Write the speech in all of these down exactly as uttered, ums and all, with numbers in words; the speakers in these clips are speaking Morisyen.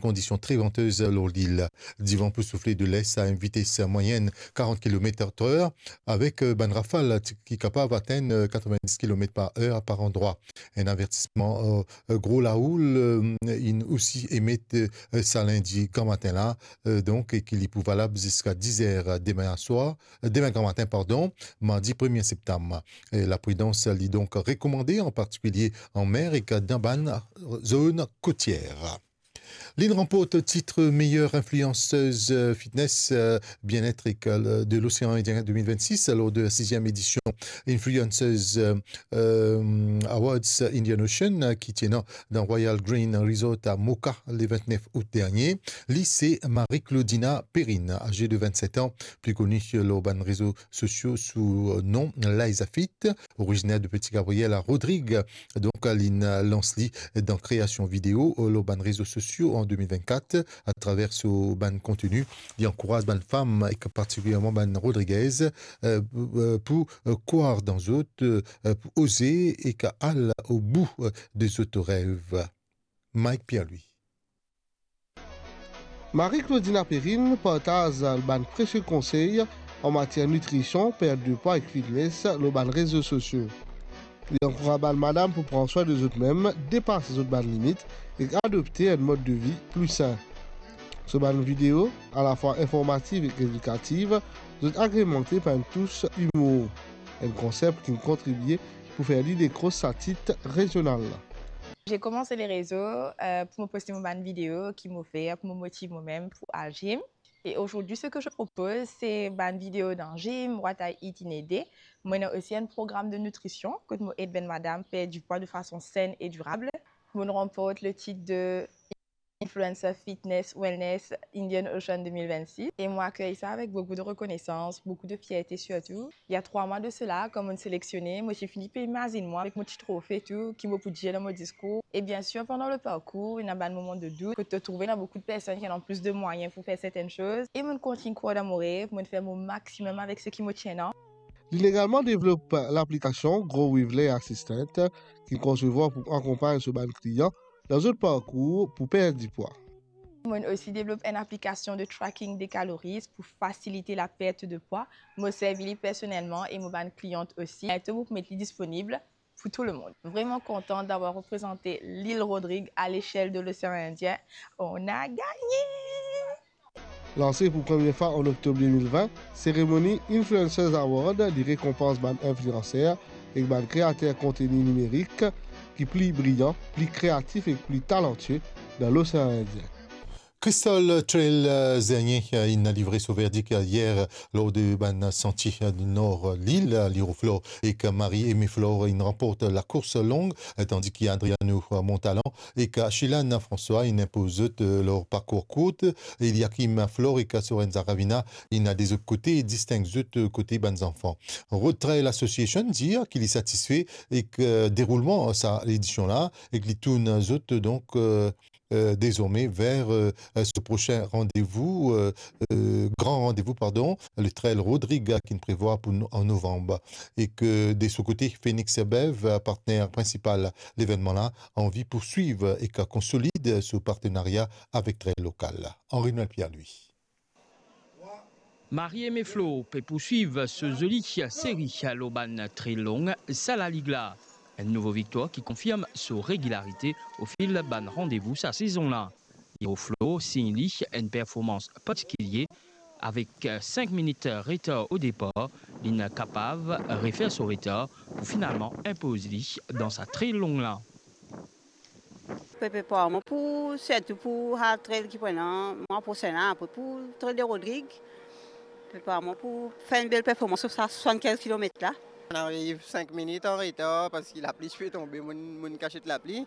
kondision tre vantez lor lil. Divan pou soufle de les a enn vites mwayenn karant kilomet par er, avek, eh, bann rafal ti, ki kapav atenn, eh, katrovin-dis kilomet par er par landrwa. Enn avertisman, eh, eh, gro laoul, eh, inn osi emet, eh, sa lindi gramatin la, eh, donk, e ki li pou valab ziska diz er demin aswar, eh, demin gramatin, pardon, mardi premie septam. Eh, lapridans li donk rekomande, an partikilie an mer ek dan bann zone kotier. Linn ranport tit meilleure influenceuse, eh, fitness, eh, bien-être ek, eh, de l'océan Indien deux mille vingt-six lor de siziem edision Influencers, eh, eh, Awards Indian Ocean, eh, ki ti ena dan Royal Green Resort a Mocha le vintnef out dernie. Li se Marie-Claudina Perrine, aze de vintset an, pli koni lor bann rezo sosio sou, eh, nom Liza Fit, originer de Petit Gabriel a Rodrigues. Donk, linn lans li dan kreasion video, eh, lor bann rezo sosio an de mil vennkat, atraver so bann konteni, li ankouraz bann fam, ek partikilierman bann Rodriguez, eh, pou, eh, pou, eh, krwar dan zot, eh, pou oze ek al o bou, eh, de zot rev. Mike Pierre-Louis. Marie-Claudina Perrine partaz bann presie konsey an matier nitrision, pert de pwa ek fitness lor bann rezo sosio. Li ankouraz bann madam pou pran swin de zot mem, depas zot bann limit ek adopte enn mod de vi pli sin. So bann video, alafwa informatif ek edikatif, zot agremante par enn tous imour, enn konsep ki kontribie pou fer li dekros sa tit rezional la. J'ai commencé les réseaux, euh, pour me poster mon bann video ki mo fer pou mo motiv mo mem pou al gym. Et aujourd'hui, ce que je propose, c'est bann video dan gym, what I eat in a day. Mo ena osi enn program de nutrision, kot mo ed bann madam perd du poids de façon saine et durable. Mo ranport le tit de Influencer Fitness Wellness Indian Ocean deux mille vingt-six. Et mo akey sa avek boukou de rekonesans, boukou de fierte sirtou. Il y a trois mois de cela, kan mo seleksioné, mo ti fini pe imazinn mwa avek mo ti trofe tou, ki mo pou dir dan mo diskour. E bien sir, pandan le parkour, ena bann moman de dout, kot to trouve ena boukou de personn ki ena plis de mwayin pou fer sertenn soz. E mo kontign krwar dan mo rev, mo fer mo maximum avek seki mo ti ena. Li egalman devlop laplikasion Grow with Lay Assistant, ki konsevwar pou akonpagn so bann klian dan zot parkour pou perd dipwa. Mo osi devlop enn aplikasion de tracking de calories pou fasilite la perte de poids. Mo servi li personelman e mo bann kliant osi. Biento mo pou met li disponib pou tou lemond. Vraiment contente d'avoir représenté l'île Rodrigues à l'échelle de l'océan Indien. On a gagné! Lanse pou premie fwa an oktob de mil vin, seremoni Influencers Award li rekonpans bann inflianser ek bann kreater konteni nimerik ki pli briyan, pli kreatif ek pli talantie dan Losean Indien. Crystal Trail, eh, Zernier, eh, inn livre so verdik, eh, yer, eh, lor de bann santie, eh, nor, eh, lil, eh, Liroflor ek Marie Aimée Flore inn ranport lakours long, eh, tandi ki Adriano, eh, Montalan ek Achilane François inn inpoz zot, eh, lor parkour kourt. Eliakim Flore ek Sorenza Ravina inn de zot kote disteng zot, eh, kote bann zanfan. Road Trail Association dir ki li satisfe ek, eh, deroulman sa ledision la, ek li tourn zot, donk, eh, eh, dezorme ver, eh, so prosin randevou, eh, eh, gran randevou, pardon, le Trail Rodrigues ki'nn prevwar pou no-, an novanm. Ek de so kote, Phoenix Bev, eh, partner prinsipal levennman la, anvi pourswiv ek konsolid so partenaria avek Trail Lokal. Henri Noël Pierre-Louis. Marie Aimée Flore pe pourswiv so zoli seri lor bann trail long sa lalig la. Enn nouvo viktwar ki konfirm so regilarite ofil bann randevou sa sezon la. Liroflor sign li enn performans partikilie avek sink minit retar o depar, li'nn kapav refer so retar pou finalman inpoz li dan sa trail long la. Prepar mwa pou, sirtou pou hard trail ki pou ena mwa prosin la, apre pou Trail de Rodrigues. Prepar mwa pou fer enn bel performans lor sa swasann-kinz kilomet la. Mo'nn ariv sink minit an retar parski lapli ti pe tonbe, mo'nn, mo'nn kasiet lapli.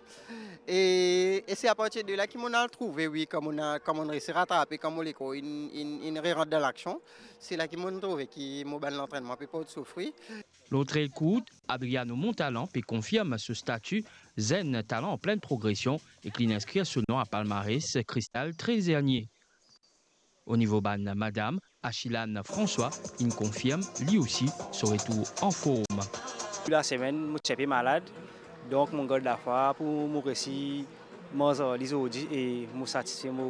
E, e se apartir de la ki mo'nn al trouve, wi, kan mo'nn, kan mo'nn resi ratrape, kan mo lekor inn, inn, inn rerant dan laksion. Se la ki mo'nn trouve ki mo bann lantrennman pe port so fri. Lor trail kourt, Adriano Montalan pe konfirm so stati zenn talan an plin progresion ek li'nn inskrir so nom a palmares Crystal Trail Zernier. O nivo bann madam, Achilane François inn konfirm li osi so retour anform. Tou lasemenn, mo ti inpe malad, donk mo gard lafwa pou mo resi manz ar li zordi e mo satisfe mo